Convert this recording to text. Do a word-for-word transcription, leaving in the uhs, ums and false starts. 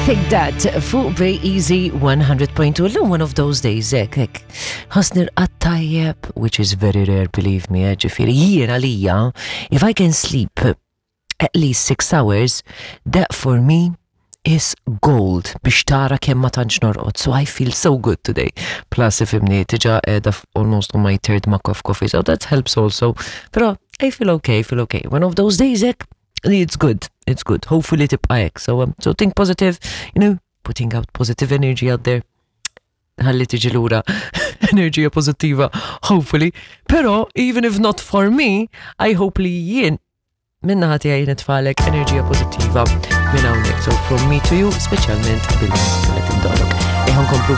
Think That fuq Bay Easy one hundred point two. Illum one of those days, hekk, hekk. Ħossni rqadt tajjeb, which is very rare, believe me, eh, ġifieri, jien għalija, if I can sleep at least six hours, that for me is gold, biex tara kemm ma tantx norqod. So I feel so good today. Plus, ifhimni, diġà qiegħda almost on my third mug of coffee, so that helps also. Però I feel okay, I feel okay. One of those days, hekk, it's good, it's good. Hopefully tibqa' hekk. So, um, so think positive, you know, putting out positive energy out there. Ħalli tiġi lura enerġija pozittiva, hopefully. Però, even if not for me, I hope li jien min-naħa tiegħi nitfagħlek enerġija pozittiva minn hawnhekk. So from me to you, speċjalment bil-mużika li tindollok. Eħan komplu.